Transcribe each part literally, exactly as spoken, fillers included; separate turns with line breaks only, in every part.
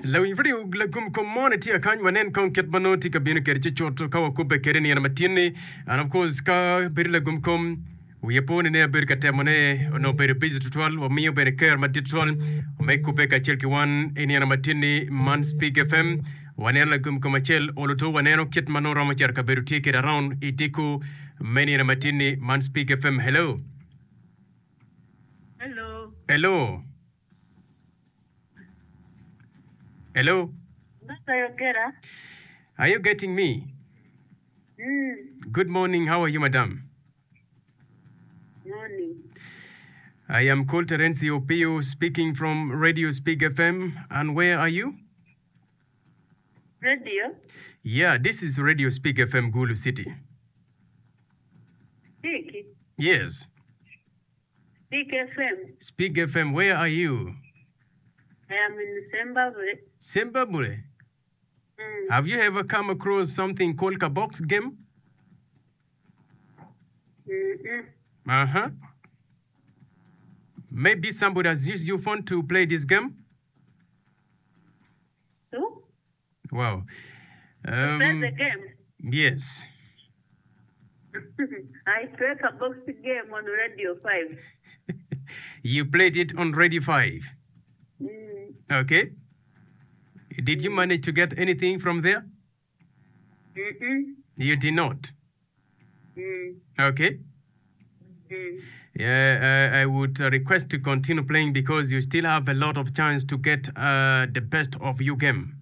Lawiny radio lagum kom mo ni tye akany wanen kong kit ma nongo tye ka bino kwede cucut ka wakubbe kwede nino matin-ni. And of course ka bedo lagum kom wiye po ni ne abedo ka temo ne onongo bedo busy tutwal wamiyo bene ker madit tutwal me kubbe kacel ki wan i nino matin-ni man Speak FM waneno lagum kom acel oluto waneno kit ma nongo romo cito kabedo tye kwede around i diko me nino matin-ni man Speak FM hello
Hello.
hello hello
Dr. Yogera.
are you getting me
Mm.
good morning how are you madam
Morning.
I am called Terenzi Opio speaking from Radio Speak FM. And where are you?
Radio.
Yeah, this is Radio Speak FM Gulu City.
Speak.
Yes.
Speak FM.
Speak FM, where are you?
I am in Zimbabwe.
Zimbabwe.
Mm.
Have you ever come across something called Kabox game?
Mm-mm.
Uh huh. Maybe somebody has used your phone to play this game?
To
Wow.
play
Um,
the game.
yes.
I play a box game on Radio five.
You played it on Radio five.
Mm.
Okay. Did you manage to get anything from there?
Mm-mm.
You did not.
Mm.
Okay.
Mm.
Yeah, uh, I would uh, request to continue playing because you still have a lot of chance to get uh, the best of your game.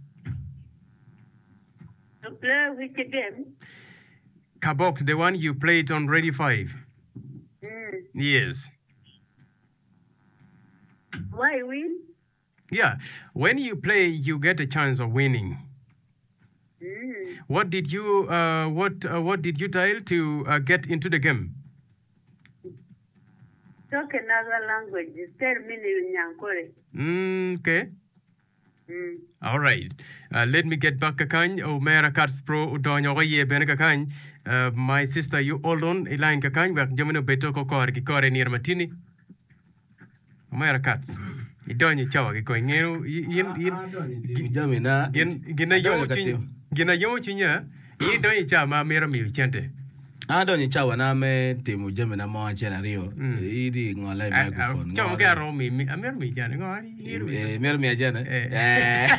To play which game?
Kabox, the one you played on Radio five.
Mm.
Yes.
Why win?
Yeah. When you play, you get a chance of winning.
Mm.
What did you uh, what uh, what did you dial to uh, get into the game?
Talk another language. Tell me in Nyankore.
Mm, okay.
Mm.
All right. Uh, let me get back kakany. Omera Katz Pro udonyo ko ye bene kakany. Uh, my sister, you hold on line kakany. Wek jamino beto ko kore ki kore nir matini. Omera Katz. Idonyo chawa ki ko ingeo yin yin
Jami na
gin gina yomo
adonyo ka
chiny
timo.
gina yomo chinya. Idonyo chawa ma mera miyo chente.
An adonyo i cawa na me timo jami na mo acel aryo idi ngola i microphone
Chawa
ngolo.
ke aro mi mi amero mi chane ngo ari iro mi.
Eh, mito miya cene
Eh.
Eh.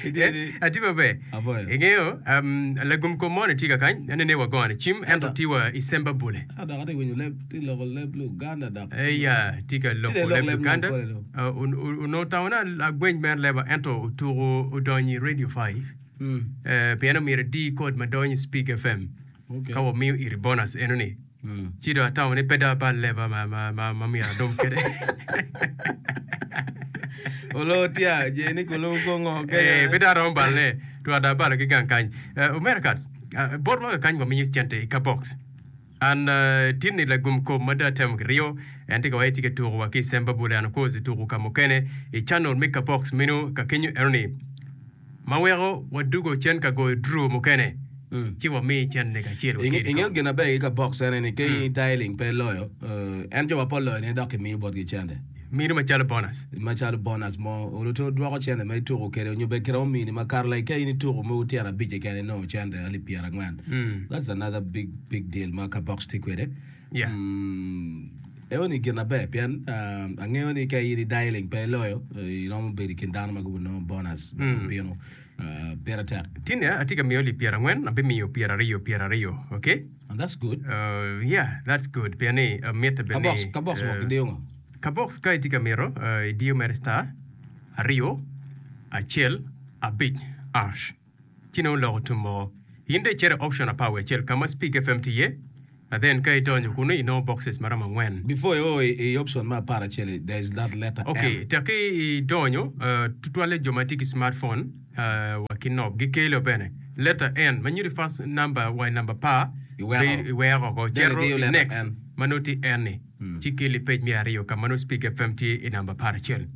Itye
Eh,
ni-
ati maber
Apoyo.
ingeo um, lagum kom moni tye kakany anene wagone cim ento tye wa i Sembabule
Ah, dok atye winyo leb tye loko leb Uganda dok
eya tye ka
Tye
loko
lok
leb
leb
Uganda
Nyankole dong.
Uh, un- un- onongo tawona agweny mer leba ento otuko odonyo i Radio five
Mm.
Eh, pien omyero idi kod ma donyo i Speak F M
Okay.
ka wamiyo iri bonus enoni
Mm.
ci do atamo ni pe do abal leba ma, ma, ma, ma myero adong kede
Olo tya je ni kulo kongo
Eh, pe do aromo balne twar do abalo ki gang kany uh, omera Katz uh, bot ma kakany wamiyo cente i ka box an uh, tin ni lagum kom ma do atemo ki riyo en tye ka waci tye ka tuko wa ki i Sembabule and of course tuko ka mukene i channel me ka box meno ka kenyo enoni ma weko wadugo cen ka goyo draw mukene
Mm.
ci wamiyi cente kacel wa kedi
Ingeyo
kong.
gin aber ki ka box ene ni ka in dialing pe loyo eh, en jo mapol loyo ne dok kimiyo botgi cente
mino macalo bonus
macalo bonus mo oluto dwoko cente ma ituko kede onyo be kede omini ma kare like ka in ituko mo tyero abic keken inongo cente alip pyera angwen
Mm.
that's another big big deal ma ka box tye kwede
Yeah.
Mm, eo ni gin aber pien um, angeo ni ka in i dialing pe iloyo eh, iromo bedo i kin dano ma gubo nongo bonus
Mm.
bino uh, pire tek
Tine atye ka miyo alip pyera angwen abimiyo pyera aryo pyera aryo okay
and that's good
Uh, yeah, that's good. Pien ni uh, mitte
ka
bene
box ka box
uh,
mo kidiyo ngo
ka box ka itye ka mito uh, idiyo mere star aryo acel abic ash ci nongo loko tum moko in dong icito i option apar wiye acel ka ma Speak F M tye iye and then ka idonyo kunu inongo boxes maromo angwen
before you i, i option ma apar acel there is that letter
Okay,
M
tek idonyo uh, tutwalle jo ma tye ki smartphone uh, wa ki knob gikelo bene letter N ma nyuto first number wa i number par
Iweko.
be- iweko oko
Then
cito
idiyo
i
letter
next
N.
ma nongo tye N ni ci kelo i page me aryo ka ma nongo Speak F M tye i namba apar acel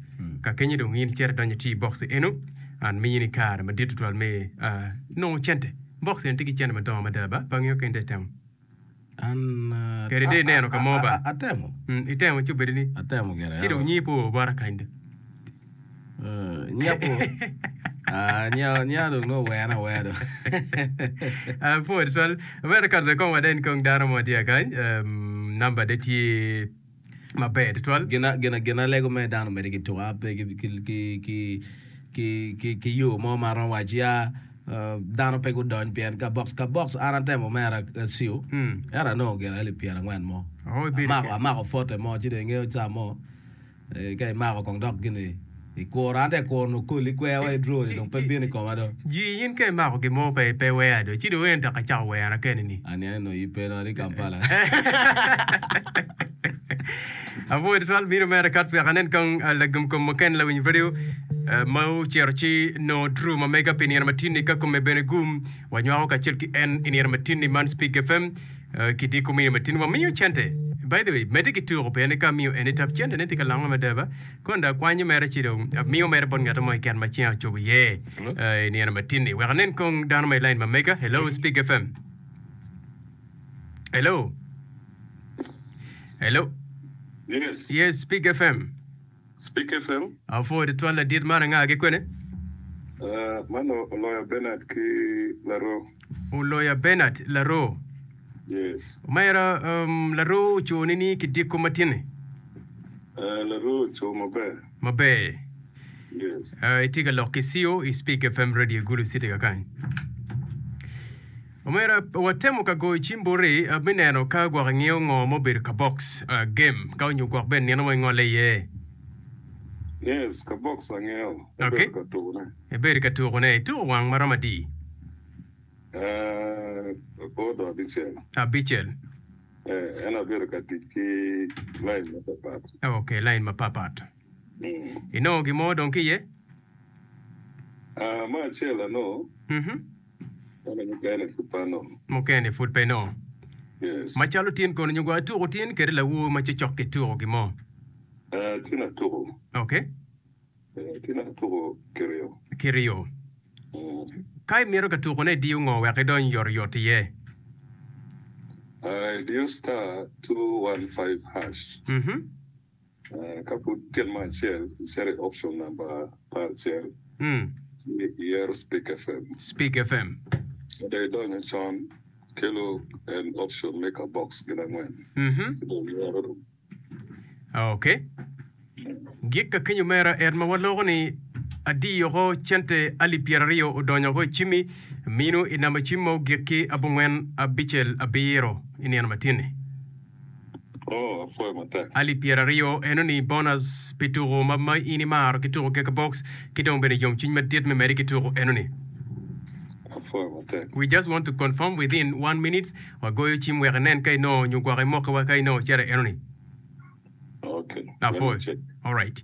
ka kenyo dong in icito idonyo tye i box eno an miyi ni kare madit tutwal me uh, nongo cente box eno tye ki cente madongo mada ba pe angeyo ka in dong itemo
An uh,
Kede dong ineno ka mo ba
atemo
Mm, itemo ci obedo ni
atemo gire
ci dong nyi po bota kany do
Eh, nyepo. Ah, nya nya dong nongo wena awena dong.
Apwoyo tutwal. Omera kato kong wanen kong dano mo tye kany. Um, namba de tye maber tutwal.
Gina gina gina lego me dano omede ki tuko a pe ki ki ki ki ki ki ki yo mo ma romo waci ya uh, dano pe gudony pien ka box ka box an atemo mera acio
Mm.
ento anongo gin alip pyera angwen mo
Oh, ibedo
amako
ke.
amako fote mo ci dong ingeyo ca mo eh, ka imako kong dok gini ikuro an te kuro nokoli kwer wa
Ci
i draw ni
ci
dong pe
ci
bino i
ci
koma dong
ji in ka imako gin mo pe pe wea do ci dong en dok acako wera kene ni.
ani eno i pe no di Kampala
Apwoyo tutwal bino mere kat wek anen kong uh, lagum kom mukene lawiny radio uh, ma ocito ci no draw ma mega pi nino matin-ni ka kome bene gum wanywako kacel ki en i nino matin-ni man Speak F M uh, ki di komini matin wamiyo cente. By the way, medde ki tuko pien ka miyo eni tap cente ne tye ka longo madaba kon da kwanyo mere ci dong miyo mere bot ngat mo keken ma ceng ocobo iye
Hello?
uh, i nino matin-ni wek anen kong dano ma i line ma mega. Hello, Speak F M. Hello, hello.
Yes.
Yes, Speak F M.
Speak F M.
Apwoyo tutwal ladit man anga ki kwene?
Uh, mano Oloya Bernard ki Laro.
Oloya Bernard Laro.
Yes.
Omera um, Laro oconi ni kidiko matin-ni.
Uh, Laro cho maber.
Maber.
Yes.
Uh, itye ka lok ki C O i Speak F M Radio Gulu City kakany. Omera watemo ka goyo cim boti uh, me neno ka gwok ingeyo ngo mobedo ka box uh, game ka onyo gwok bene nino mo ingole iye.
Yes, ka box angeo.
Okay.
Abedo ka tukone.
Ibedo ka tukone ituko wang maromo adi?
Uh, odo abicel.
Abicel.
Eh, en abedo ka tic ki line mapapat.
Okay, line mapapat.
Mm.
Inongo gimo dong ki iye?
Uh, ma acel ano,
Mhm.
eno mukene pud pe anongo.
Mukene pud pe no.
Yes.
Macalo tin kono nyo gwa tuko tin kede lawo ma cocok ki tuko gimo.
Uh, tin atuko.
Okay.
Eh, tin atuko kiryo.
Kiryo.
Mm.
Ka imito ka tukone idiyo ngo wek idony yotoyot iye?
Uh, diyo star two one five hash.
Mhm.
Uh, ka pud tyen ma acel, icito i option number apar acel,
Mm.
ci iyero Speak F M.
Speak F M.
Ka idonyo con, kelo en option me ka box gin angwen.
Mhm.
Ci dong iyero dong.
Okay. Gik ka kenyo mera en ma waloko ni adiyo ko cente alip pyeraryo odonyo ko i cimi mino i namba cim ma ogik ki abongwen abicel abiro i nino matin-ni.
Oh, apwoyo matek.
Alip pyeraryo eno ni bonus pi tuko ma, ma in imaro ki tuko keka box ki dong bene yomcwiny madit me medi ki tuko eno ni.
Apwoyo matek.
We just want to confirm within one minute wagoyo cim wek inen ka inongo nyo gwok imokowa ka inongo cere eno ni.
Okay. Let me
Apwoyo.
check.
All right.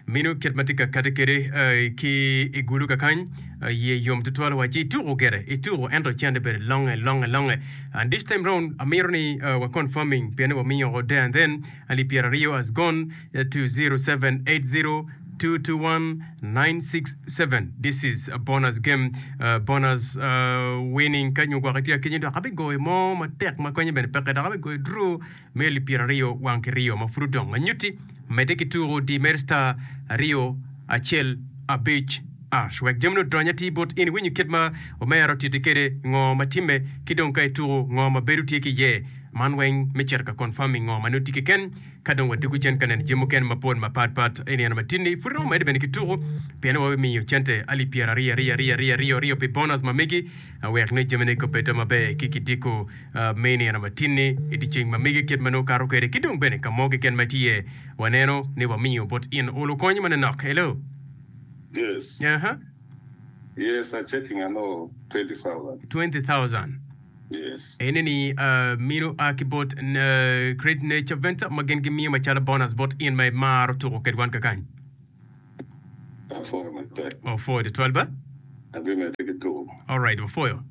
Mino kit ma tye ka kati kede uh, ki i gulu kakany uh, ye yom tutwal waci ituko gere ituko ento cente bene longe longe longe, and this time round amiro ni uh, wa confirming pien wamiyo there and then alip pyeraryo has gone uh, to zero seven eight zero two two one nine six seven. This is a bonus game, uh, bonus uh, winning ka nyo gwok itye akenyo dok abigoyo mo matek ma konyo bene peke dok abigoyo draw me alip pyeraryo wang kiryo ma pud odong anyutti medde ki tuko di mer star aryo acel abic ash wek jami odony atir bot in iwinyo kit ma omero titi kede ngo ma timme ki dong ka ituko ngo ma bedo tye ki iye man weng me cito ka confirming ngo ma nongo tye keken ka dong wadugo cen ka neno jami mukene mapol mapatpat i nino matin-ni pud romo medde bene ki tuko pien wabimiyo cente alip pyeraryo aryo aryo aryo aryo aryo pi bonus ma megi wek ne jamine kobedo maber ki kidiko uh, me nino matin-ni i dyeceng ma megi kit ma nongo kato kwede ki dong bene ka mo keken ma tye waneno ni wamiyo bot in olo konyo manenok. Hello.
Yes.
uh-huh.
Yes, I'm checking. I know twenty thousand.
twenty thousand.
Yes.
Ene ni uh, mino a ki bot uh, Great Nature Venture ma gin gimiyo macalo bonus bot in ma imaro tuko ked wan kakany.
Apwoyo matek.
Opwoyo tutwal ba.
Abimedde ki tuko.
Alright, opwoyo.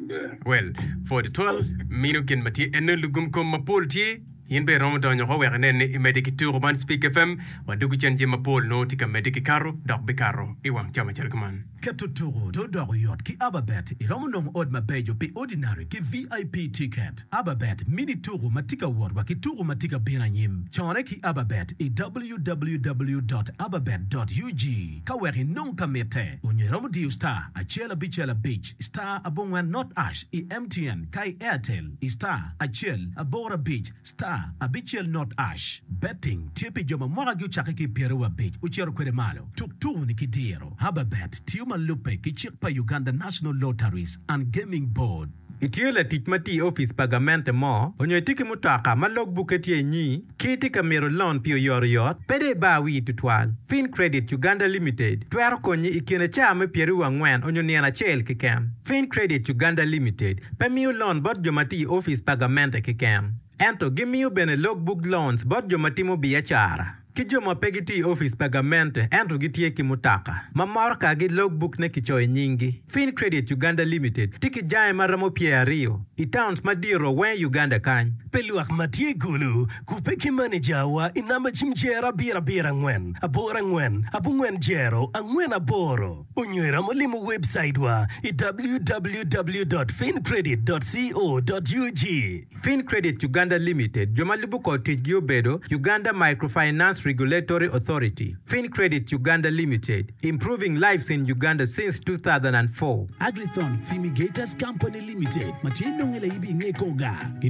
Yeah.
Well, for the twelve mino gin ma tye eno lugum kom mapol tye In bene iromo donyo oko wek inen ni imedde ki tuko man Speak F M. Wadwogo cen jami mapol nongo tye ka medde ki kato dok bikato i wang cawa macalo kuman.
Keto tuko to doko yot ki Ababet. Iromo nongo ot mabeco pi ordinary ki V I P ticket. Ababet mini tuko ma tye ka wot wa ki tuko ma tye ka bino anyim. Cone ki Ababet i w w w dot ababet dot u g ka wek inong ka mitte. Onyo iromo diyo star acel abicel abic star abongwen not hash i M T N ka i Airtel i star acel aboro abic star abicel not hash. Betting tye pi jo ma mwakagi ocakke ki pyeraryo abic ocito kwede malo. Tuk tuko-ni ki diro. Ababet tiyo ma lubbe ki cik pa Uganda National Lotteries and Gaming Board.
Itye latic ma tye i opic pa gamente mo onyo itye ki mutoka ma logbukke tye inyi ki itye ka mito loan pi oyotoyot, pe dong ibar wii tutwal. FinCredit Uganda Limited twero konyi i kine caa me pyeraryo angwen onyo nino acel keken. FinCredit Uganda Limited pe miyo loan bot jo ma tye i opic pa gamente keken, ento gimiyo bene logbook loans bot jo ma timo biacara ki jo ma pe gitye i opic pa gamente ento gitye ki mutoka ma motokagi logbook ne kicoyo i nyinggi. FinCredit Uganda Limited tye ki jange ma romo pyeraryo i towns madito weng i Uganda kany.
Pi lwak ma tye i Gulu, kubbe ki manejawa i namba cim jero abiro abiro angwen, aboro angwen, abongwen jero, angwen aboro. Onyo iromo limo website wa i w w w dot fincredit dot co dot u g.
FinCredit Uganda Limited jo ma lubo kor ticgi obedo Uganda Microfinance Regulatory Authority. FinCredit Uganda Limited, improving lives in Uganda since two thousand four.
Agrithon Fumigators Company Limited ma tye nonge laibi i nge koga gitye